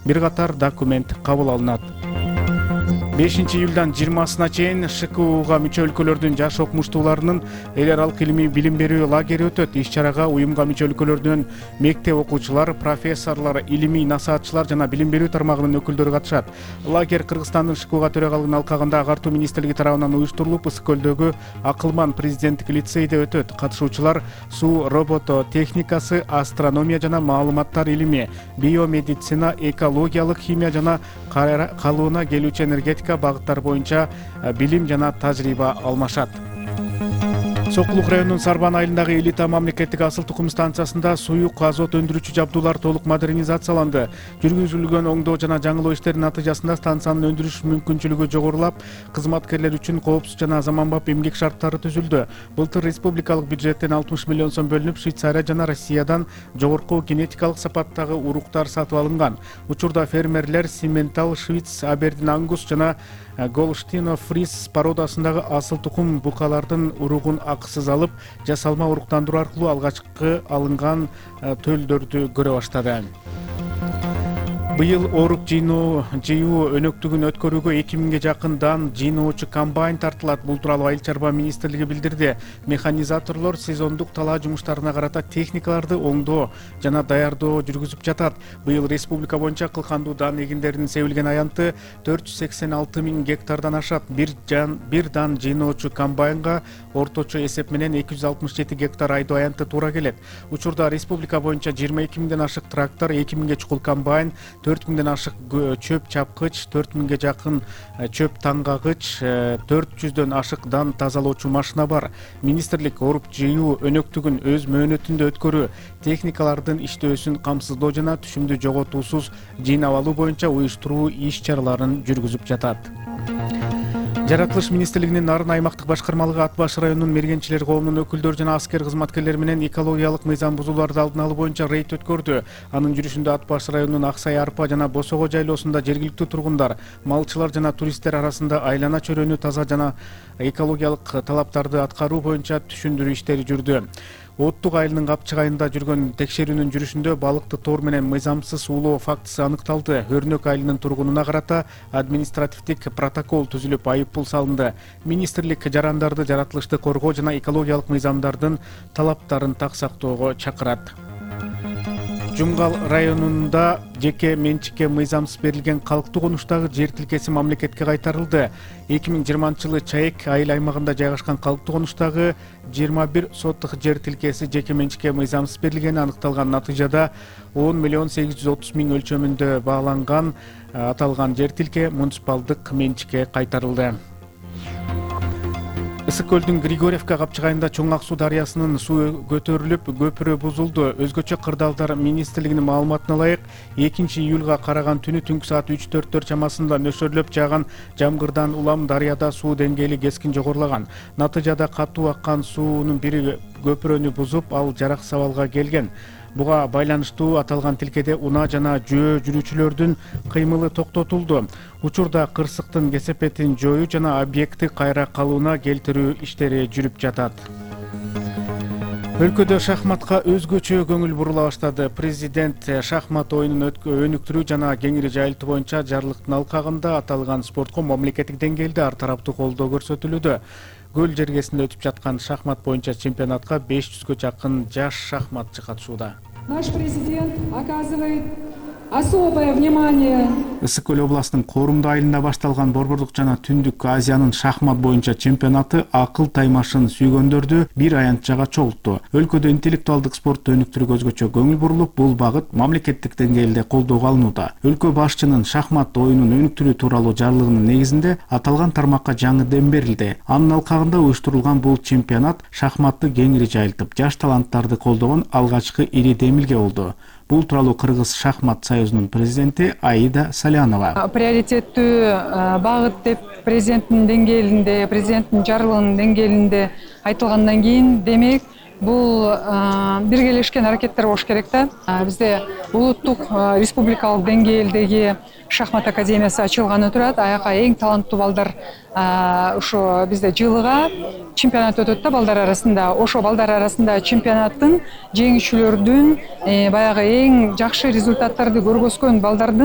бир катар документ кабыл алынат. 5-июлдан 20-сына чейин ШКУга мүчө өлкөлөрдүн жаш окумуштууларынын эл аралык илимий билим берүү лагери өтөт. Иш-чарага уюмга мүчө өлкөлөрдүн мектеп окуучулар, профессорлор, илимий насаатчылар жана билим берүү тармагынын өкүлдөрү катышат. Лагерь Кыргызстандын ШКУга төрагалыгын алкагында Агартуу министрлиги тарабынан уюштурулуп, Ысык көлдөгү Акылман президенттик лицейде өтөт. Катышуучулар суу робототехникасы, астрономия жана маалыматтар илими, биомедицина, экологиялык химия жана калыбына келүүчү энергетика багыттар боюнча билим жана тажрыйба алмашат. Сокулук районунун Сарбан айылындагы Элита мамлекеттик асыл тукум станциясында суюк азот өндүрүүчү жабдуулар толук модернизацияланды. Жүргүзүлгөн оңдоо жана жаңылоо иштеринин натыйжасында станциянын өндүрүш мүмкүнчүлүгү жогорулап, кызматкерлер үчүн коопсуз жана заманбап эмгек шарттары түзүлдү. Былтыр республикалык бюджеттен 60 миллион сом бөлүнүп, Швейцария жана Россиядан жогорку генетикалык сапаттагы уруктар сатып алынган. Учурда фермерлер Симментал, Швиц, Абердин Ангус жана Голштино Фриз породасындагы асыл тукум букалардын уругун акысыз алып, жасалма уруктандыруу аркылуу алгачкы алынган төлдөрдү көрө баштады. Быйыл оорук жыйуу өнөктүгүн өткөрүүгө 2000ге жакын дан жыйноочу комбайн тартылат. Бул тууралуу Айыл чарба министрлиги билдирди. Механизаторлор сезондук талаа жумуштарына карата техникаларды оңдоо жана даярдоо жүргүзүп жатат. Быйыл республика боюнча кылкандуу дан эгиндеринин себилген аянты 486 000 гектардан ашат. Бир дан жыйноочу комбайнга орточо эсеп менен 267 гектар айдоо аянты туура келет. Учурда республика боюнча 22 000ден ашык трактор, 2 000ге чукул комбайн, 4000ден ашык чөп чапкыч, 4000ге жакын чөп таңгагыч, 400дөн ашык дан тазалоочу машина бар. Министрлик оорук жыйуу өнөктүгүн өз мөөнөтүндө өткөрүү, техникалардын иштөөсүн камсыздоо жана түшүмдү жоготуусуз жыйнап алуу боюнча уюштуруу иш-чараларын жүргүзүп жатат. Жаратылыш министрлигинин Нарын аймактык башкармалыгы Ат баш районунун мергенчилер коомунун өкүлдөрү жана аскер кызматкерлери менен экологиялык мыйзам бузууларды алдын алуу боюнча рейд өткөрдү. Анын жүрүшүндө Ат баш районунун Аксай Арпа жана Босого жайлоосунда жергиликтүү тургундар, малчылар жана туристтер арасында айлана чөрөнү таза жана экологиялык талаптарды аткаруу боюнча түшүндүрүү иштери жүрдү. Оттук айылынын Капчык айылында жүргөн текшерүүнүн жүрүшүндө балыкты тоор менен мыйзамсыз уулоо фактысы аныкталды. Өрнөк айылынын тургунуна карата административдик протокол түзүлүп, айыппул салынды. Министрлик жарандарды жаратылышты коргоо жана экологиялык мыйзамдардын талаптарын так сактоого чакырат. Жумгал районунда жеке менчикке мыйзамсыз берилген калктуу конуштагы жер тилкеси мамлекетке кайтарылды. 2020-жылы Чаек айыл аймагында жайгашкан калктуу конуштагы 21 соттук жер тилкеси жеке менчикке мыйзамсыз берилгени аныкталган. Натыйжада 10 миллион 830 000 өлчөмүндө бааланган аталган жер тилке муниципалдык менчикке кайтарылды. Ысык көлдүн Григорьевка Капчык айылында Чоң Ак суу дарыясынын суу көтөрүлүп, көпүрө бузулду. Өзгөчө кырдаалдар министрлигинин маалыматына ылайык, 2-июлга караган түнү түнкү саат 3-4 чамасында нөшөрлөп жааган жамгырдан улам дарыяда суу деңгээли кескин жогорулаган. Натыйжада катуу аккан суунун бири көпүрөнү бузуп, ал жарак сабалга келген. Буга байланыштуу аталган тилкеде унаа жана жөө жүрүүчүлөрдүн кыймылы токтотулду. Учурда кырсыктын кесепетин жоюу жана объектти кайра калыбына келтирүү иштери жүрүп жатат. Өлкөдө шахматка өзгөчө көңүл бурула баштады. Президент шахмат оюнун өнүктүрүү жана кеңири жайылтуу боюнча жарлыктын алкагында аталган спортко мамлекеттик деңгээлде ар тараптуу колдоо көрсөтүлүүдө. Көл жергесинде өтүп жаткан шахмат боюнча чемпионатка 500гө жакын жаш шахматчы катышууда. Наш президент оказывает особое внимание. Ысык көл областынын Корумду айылында башталган Борбордук жана Түндүк Азиянын шахмат боюнча чемпионаты акыл таймашын сүйгөндөрдү бир аянтчага чогултту. Өлкөдө интеллектуалдык спорту өнүктүрүүгө өзгөчө көңүл бурулуп, бул багыт мамлекеттик деңгээлде колдоого алынууда. Өлкө башчынын шахмат оюнун өнүктүрүү тууралуу жарлыгынын негизинде аталган тармакка жаңы дем берилди. Анын алкагында уюштурулган бул чемпионат шахматты кеңири жайылтып, жаш таланттарды колдогон алгачкы ири демилге болду. Бул тууралуу Кыргыз шахмат союзунун президенти Аида Салянова. Приоритеттүү багыт деп президенттин деңгээлинде, президенттин жарлыгынын деңгээлинде айтылгандан кийин, демек бул биргелешкен аракеттер болуш керек да. Бизде улуттук республикалык деңгээлдеги шахмат академиясы ачылганы турат. Аяка эң таланттуу балдар ошо бизде жылыга чемпионат өтөт да балдар арасында. Ошо балдар арасында чемпионаттын жеңүүчүлөрдүн баягы эң жакшы результаттарды көргөзгөн балдардын